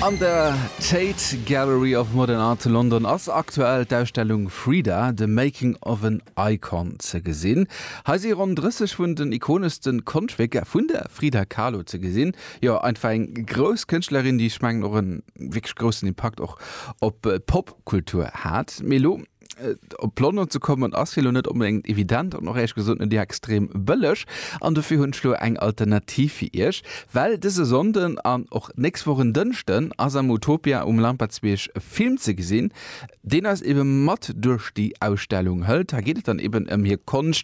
An der Tate Gallery of Modern Art zu London ass aktuell d'Ausstellung Frida, The Making of an Icon ze gesinn. Hei si ronn 30 vun den ikoneschste Konschtwierker vun der Frida Kahlo ze gesinn. Jo, einfach eng grouss Kënschtlerin, déi ech mengen och e wierklech groussen Impakt och op d'Popkultur hat. Mee elo Op London ze kommen ass jo lo net onbedéngt evident an och éierlech gesot net extrem bëlleg. An dofir hunn ech lo eng Alternativ fir iech, well dëse Sonnden an och d'nächst Woch en Dënschden ass am Utopia um Lampertsbierg e Film ze gesinn, deen eis ebe mat duerch déi Ausstellung hëlt. Hei geet et dann eben ëm hir Konscht.